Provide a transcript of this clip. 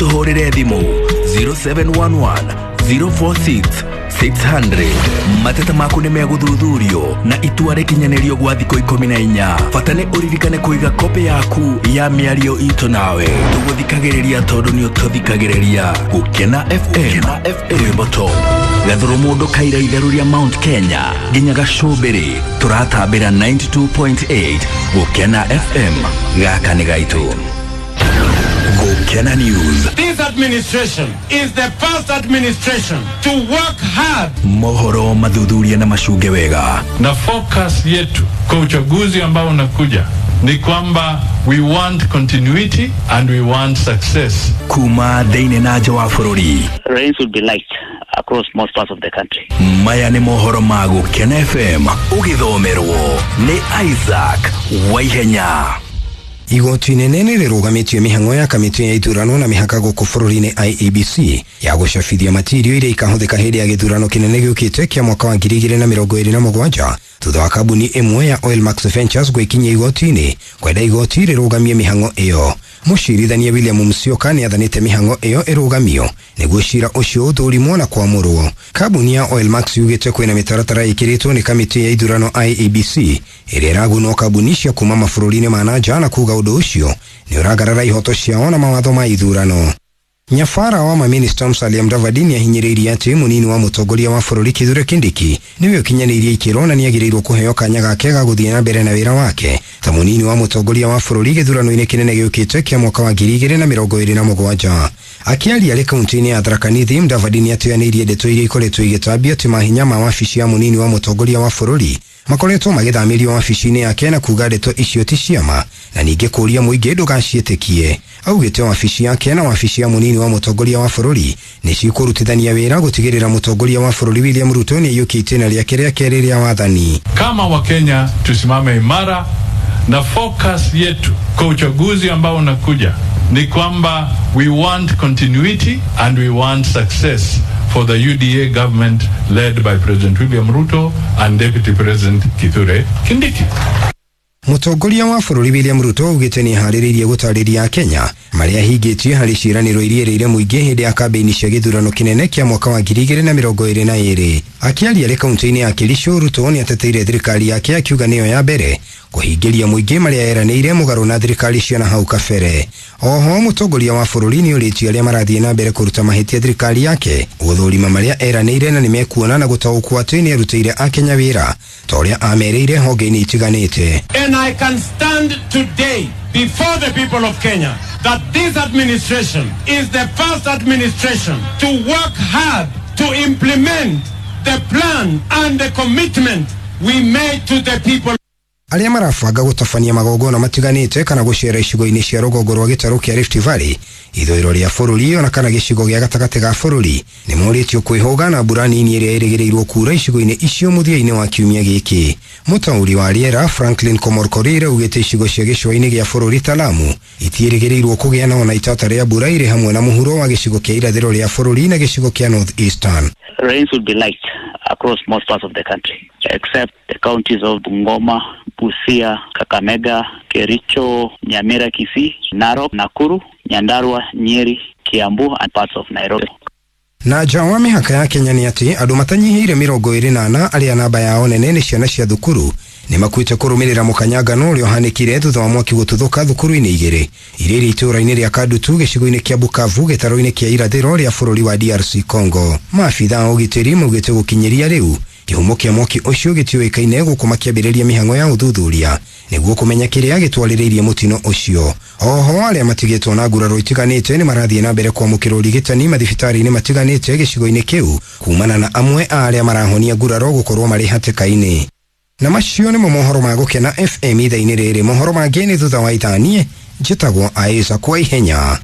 Ũtũhũrĩre thimũ 0711 046 600. Mateta maku nĩ megũthuthurio na itua rĩkinyanĩrio gwa thikũ 14. Bata nĩ ũririkane kũiga kopĩ yaku ya mĩario itũ nawe. Tũgũthikagĩrĩria tondũ nĩ ũtũthikagĩrĩria. Gũkena FM, rwĩmbo top. Gathũrũ mũndũ kaira itherũ rĩa Mount Kenya nginya gacũmbĩrĩ tũratambĩra 92.8 Gũkena FM. Gaka nĩ gaitũ. Gũkena News. This administration is the first administration to work hard. Mohoro mathuthuria na macunge wega. Na focus yetu kwa uchaguzi ambao unakuja ni kwamba we want continuity and we want success. Kuma thĩinĩ na nja wa bũrũri. Rains will be light across most parts of the country. Maya nĩ mohoro ma Gũkena FM ũgĩthomerwo nĩ Isaac Waihenya. Igoti inene nĩ rĩrũgamĩtie mĩhang'o ya kamĩtĩ ya ithurano na mĩhaka gũkũ bũrũri-inĩ IEBC ya gũcabithia matirio iria ikahũthĩka hĩndĩ ya gĩthurano kĩnene gĩũkĩte kĩa mwaka wa 2027 thutha wa kambuni ĩmwe ya Oilmax Ventures gwĩkinyia igoti-inĩ kwenda igoti rĩrũgamie mĩhang'o ĩyo. Mũcirithania William Musyoka nĩ athanĩte mĩhang'o ĩyo ĩrũgamio nĩguo cira ũcio ũthũrimwo na kwamũrwo. Kambuni ya Oilmax yugĩte kwĩna mĩtaratara ĩkĩrĩtwo nĩ kamĩtĩ ya ithurano IEBC ĩrĩa ĩragunwo kambuni cia kuma mabũrũri-inĩ ma na nja na kuga ũndũ ũcio nĩ ũragarara ihoto ciao na mawatho ma ithurano. Nyabara wa maminista Musalia Mudavadi nĩahinyĩrĩirie atĩ mũnini wa mũtongoria wa bũrũri Kithure Kindiki nĩwe ũkinyanĩirie ikĩro na nĩagĩrĩirwo kũheo kanya gake ga gũthiĩ na mbere na wĩra wake ta mũnini wa mũtongoria wa bũrũri gĩthurano-inĩ kĩnene gĩũkĩte kĩa mwaka wa 2027. Akĩaria arĩ kaunti-inĩ ya Tharaka Nithi, Mudavadi nĩatĩanĩirie ndeto iria ikoretwo igĩtambio atĩ mahinya ma wabici ya mũnini wa mũtongoria wa bũrũri makoretwo magĩthamĩrio wabici-inĩ yake na kuga ndeto icio ti ciama na ningĩ kũũria mũingĩ ndũgaciĩtĩkie. Augĩte wabici yake na wabici ya mũnini wa mũtongoria wa bũrũri nĩ cikũrutithania wĩra gũtigĩrĩra mũtongoria wa bũrũri William Ruto nĩ aiyũkia itĩna rĩake rĩa kerĩ rĩa wathani. Kama Wakenya tusimame imara na focus yetu kwa uchaguzi ambao unakuja ni kwamba we want continuity and we want success for the UDA government led by President William Ruto and Deputy President Kithure Kindiki. Mũtongoria wa bũrũri William Ruto augĩte nĩ aharĩrĩirie gũtarĩria Kenya marĩa ahingĩtie harĩ ciĩranĩro iria erĩire mũingĩ hĩndĩ ya kambĩini cia gĩthurano kĩnene kĩa mwaka wa 2022. Akĩaria arĩ kaunti-inĩ ya Kericho, Ruto nĩ ateteire thirikari yake akiuga nĩyo ya mbere kũhingĩria mũingĩ marĩa eranĩire mũgarũ na thirikari cia na hau kabere. Oho mũtongoria wa bũrũri nĩ ũrĩtie arĩa marathiĩ na mbere kũruta mahĩtia thirikari yake gũthũrima marĩa eranĩire na nĩmekuona na gũtaũkwo atĩ nĩ arutĩire akenya wĩra ta ũrĩa amerĩire honge-inĩ itiganĩte. And I can stand today before the people of Kenya that this administration is the first administration to work hard to implement the plan and the commitment we made to the people. Arĩa marabanga gũtabania magongona matiganĩte kana gũcera icigo-inĩ cia rũgongo rwa gĩtarũ kĩa Rift Valley, ithũĩro rĩa bũrũri ona kana gĩcigo gĩa gatagatĩ ga bũrũri nĩ morĩtio kwĩhũga na mbura nini ĩrĩa ĩrĩgĩrĩirwo kuura icigo-inĩ icio mũthia-inĩ wa kiumia gĩkĩ. Mũtaũri wa rĩera Franklin Komorkorir augĩte icigo cia gĩcũa-inĩ gĩa bũrũri ta Lamu itiĩrĩgĩrĩirwo kũgĩa na ona itata rĩa mbura irĩ hamwe na mũhuro wa gĩcigo kĩa irathĩro rĩa bũrũri na gĩcigo kĩa North Eastern. Rains will be light across most parts of the country except the counties of Bungoma, Busia, Kakamega, Kericho, Nyamira, Kisii, Narok, Nakuru, Nyandarua, Nyeri, Kiambu and parts of Nairobi. Na nja wa mĩhaka ya Kenya nĩ atĩ andũ matanyihĩire 24 arĩa namba yao nene nĩ ciana cia thukuru nĩ makuĩte kũrũmĩrĩra mũkanyangano ũrĩa ũhanĩkire thutha wa mwaki gũtuthũka thukuru-inĩ igĩrĩ iria irĩ itũũra-inĩ rĩa Kadutu gĩcigo-inĩ kĩa Bukavu gĩtarũ-inĩ kĩa irathĩro rĩa bũrũri wa DRC Congo. Maabitha a ũgitĩri maugĩte gũkinyĩria rĩu kĩhumo kĩa mwaki ũcio gĩtiũĩkaine gũkũ makĩambĩrĩria mĩhang'o ya ũthuthuria nĩguo kũmenya kĩrĩa gĩtwarĩrĩirie mũtino ũcio. Oho arĩa matigĩtwo na nguraro itiganĩte nĩ marathiĩ na mbere kwamũkĩra ũrigitani mathibitarĩ-inĩ matiganĩte gĩcigo-inĩ kĩu kumana na amwe a arĩa marahonia nguraro gũkorwo marĩ hatĩka-inĩ. Na macio nĩmo mohoro ma Gũkena FM ithaa-inĩ rĩrĩ. Mohoro mangĩ nĩ thutha wa ithaa. Niĩ njĩtagwo Isaac Waihenya.